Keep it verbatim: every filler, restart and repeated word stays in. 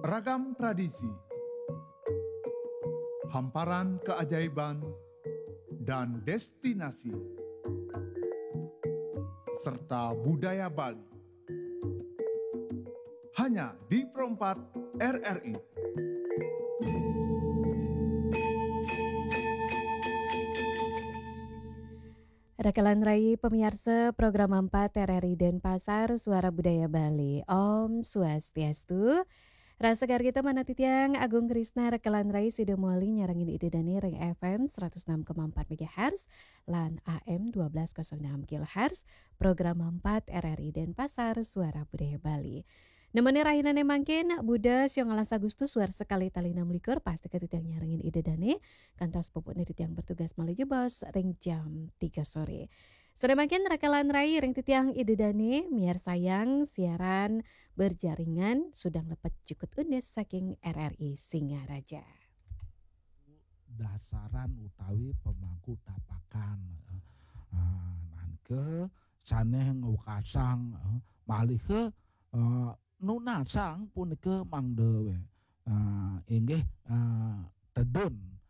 Ragam tradisi, hamparan keajaiban, dan destinasi, serta budaya Bali. Hanya di Pro empat R R I. Rakalan rai pamiarsa program empat R R I Denpasar, Suara Budaya Bali. Om Swastiastu. Rasa gargita manah titiang Agung Krisna, rakalan rai sida mawali nyarengin Ida Dane ring F M seratus enam koma empat megahertz lan A M dua belas kosong enam kilohertz, program empat R R I Denpasar, Suara Budaya Bali. Nemene rahinane mangkin, Buda, siang ngalas Agustus, warsa kalih tali enam likur, pastika titiang nyarengin Ida Dane, kantos puputne titiang bertugas malih jebos ring jam tiga sore. Sore mangkin rakalan rai ring titiang Ida Dane, miarsayang siaran berjaringan Sudang Lepet Jukut Unis saking R R I Singaraja. Dasaran utawi pemangku tapakan, eh, eh, nangka sané ngwekasang, eh, malih, eh, nunasang punika mangda, eh, inggih, eh, tedun